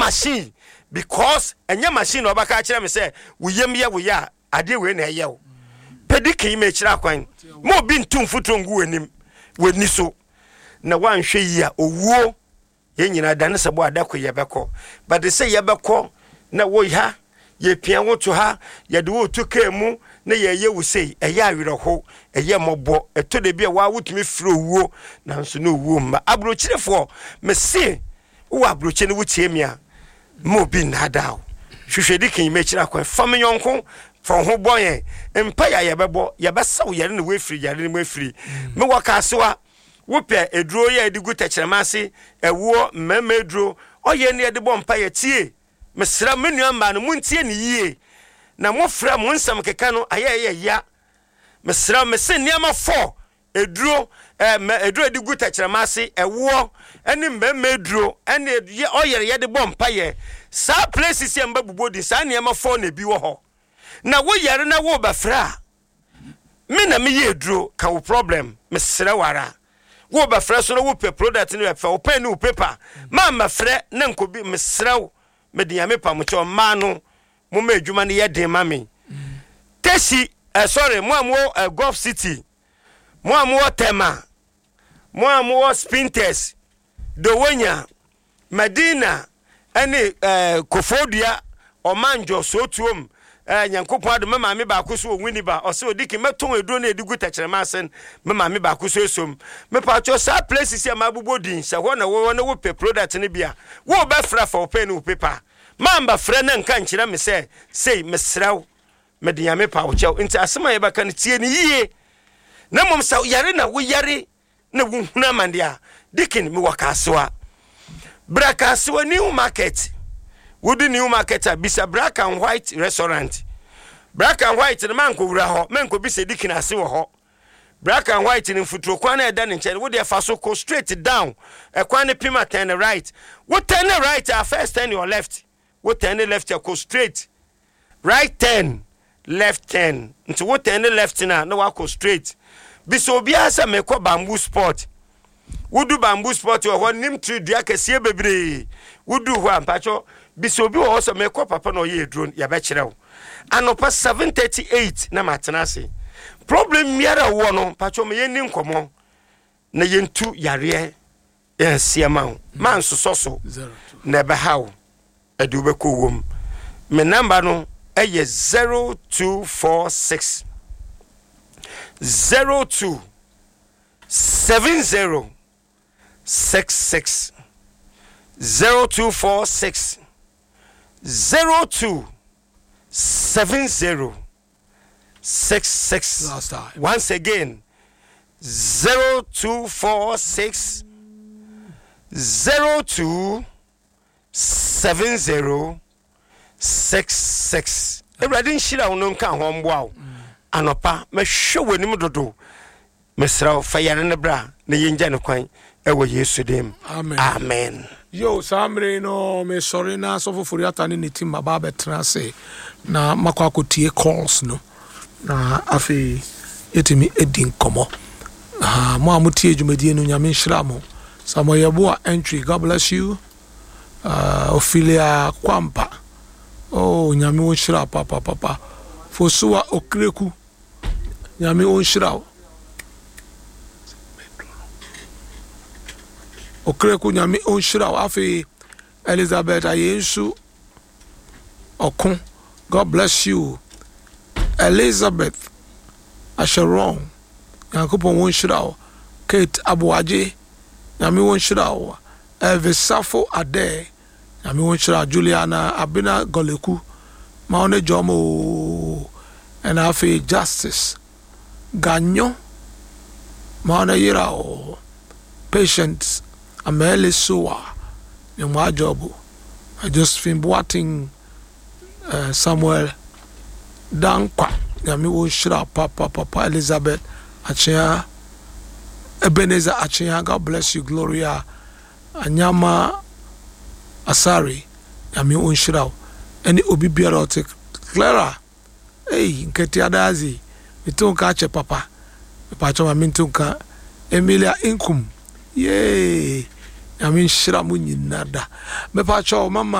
machine because ɛnyɛ machine na ɔbɛka akyerɛ me sɛ wo yam yɛ wo yɛ a adeɛ wei na ɛyɛ wo. Pɛ dikin ma ɛkyerɛ akwan. Ma obi ntu mfuturo ngu w'anim w'ani so na woanhwɛ yie a owuo. Yɛn nyinaa da ne sɛ bɔ ada ko yɛbɛkɔ but sɛ yɛbɛkɔ na wo ha yɛpia wo to ha yɛde wo to kaa mu na yɛyɛ wo sei ɛyɛ awerɛho ɛyɛ mmɔbɔ ɛtɔ da bi a waa wotumi firi owuo nanso na owuo mma aburokyerefoɔ mese wowɔ aburokye no wotie me a ma obi nnaadaa wo hwehwɛ di kan mɛkyerɛ akwan fa me yɔnko fa wo ho bɔ yɛn mpa yɛ a yɛbɛbɔ yɛbɛsa wo yare na woafiri yare no mu afiri mewɔ kaasewa Wopɛ aduro yi a yɛde gu tɛkyerɛma ase, ɛwoɔ, mmarima aduro, ɔyɛ ne yɛde bɔ mpaeɛ. Tie! Mesrɛ me nua mmaa no, montie no yie. Na mofrɛ mo nsɛm keka no, ayɛ ɛyɛ ya. Mesrɛ, mese nneɛma fɔ, aduro, eh, mɛ, aduro a yɛde gu tɛkyerɛma ase, ɛwoɔ, ɛne mmarima aduro, ɛne ɔyɛre yɛde bɔ mpaeɛ. Saa places yi a mbɛbobɔ din, saa nneɛma fɔ na ebi wɔ hɔ. Na woyare na worebɛfrɛ a, Me na me yɛ aduro ka wo problem mesrɛ wo ara wo bɛ frɛ so na wo pɛ product no bɛ fɛ wo pen ne wo paper ma mɛ frɛ na nko bi mesrɛ wo me de nyame pa mo kyɛw mmaa no mo ma adwuma no yɛ den ma me tesi eh, sorry mo a mo wɔ eh, Gulf City mo a mo wɔ Tema mo a mo wɔ Spintex Dowonya Madina ne eh, Kofoɔdua, Ɔmanjɔ, Sootuom, eh, Nyankopɔn adom, me maame baako so wɔ Winneba, ɔse odikin mɛtɔn aduro no ɛde gu tɛkyerɛma ase no, me maame baako so esom. Mepatwɔ saa places yi a mabobɔ din, sɛ hɔ na wowɔ na wopɛ product no bi a, wo bɛfrɛ fa wo pen ne wo paper. Mamba frɛ na nka nkyerɛ me sɛ sei, mesrɛ wo, mede Nyame pa wo kyɛw. Nti asɛm a yɛbɛka no tie no yie. Na mmom sɛ yare na woyare na wohunu amane a, Deacon, mewɔ Kasoa. Bra Kasoa New Market. Wodu New Market a, bisa Black and White Restaurant. Black and White no, mankɔwura hɔ, mankɔbisa Deacon ase wɔ hɔ. Black and White no, mfuturo kwan no a ɛda ne nkyɛn no, wo deɛ fa so kɔ straight down. Ɛkwan no pem a, turn right. Wo turn right a, first turn your left. Wo turn left a, kɔ straight. Right turn, left turn. Nti wo turn left no a na wakɔ straight. Bisa obiara sɛ mekɔ bamboo spot. Wodu bamboo spot wɔ hɔ nim tree dua kɛseɛ bebree. Wodu hɔ a mpakyɛ bisa obi wɔ hɔ sɛ mekɔ papa na ɔyɛ aduro no yɛbɛkyerɛ wo. Anɔpa 7:38 na matena ase. Problem biara wɔ no mpakyɛ ma yɛnni nkɔmmɔ na yɛntu yareɛ Yɛnseɛ ma wo ma nsosɔ so na ɛbɛha wo ɛde wobɛkɔ wuom. Me namba no ɛyɛ 0246 02 70 66 0246 02 70 66. Last time. Once again, 0246 02 70 66. Awurade nhyira wo no nka ho mboa wo. Anɔpa mɛhwɛ w'anim dodo. Mesrɛ wo fa yare no bra na yɛngya no kwan ɛwɔ Yesu din mu. Amen. Amen. Yo, saa mmere yi no mesɔre na Asɔfo Foriata ne ne team aba abɛtena ase na makɔ akɔtie calls no na afei yɛtumi adi nkɔmmɔ. Ah, mo a motie dwumadie no Nyame nhyira mo. Samuel Yeboah Entry, God bless you. Uh, Ophelia Kwampa, oh, Nyame wo nhyira papa papa. Fosuwa Okreku, Nyame onhyira wo. Okraku Nyame onhyira wo. Afei Elizabeth Ayensu Ɔko God bless you. Elizabeth Asheron Nyankopɔn wonhyira wo. Kate Aboagye Nyame wonhyira wo. Elvis Safo Adair Nyame wo nhyira Juliana Abena Goleku ma wo ne dwom oo ɛna afei Justice Ganyo ma wo ne yera oo Patience Amele Sowa ne mo adwobo Josephine Boateng eh, Samuel Dankwa Nyame wo nhyira papa papa Elizabeth Akyea Ebenezer Akyea God bless you Gloria Anyama Asare Nyame onhyira wo ɛne obi biara ɔte Clara ei nkatia daa dze meto nka akyɛ papa mepakyɛw ma mento nka Emilia Nkum yee Nyame nhyira mo nyina da mepakyɛw mama.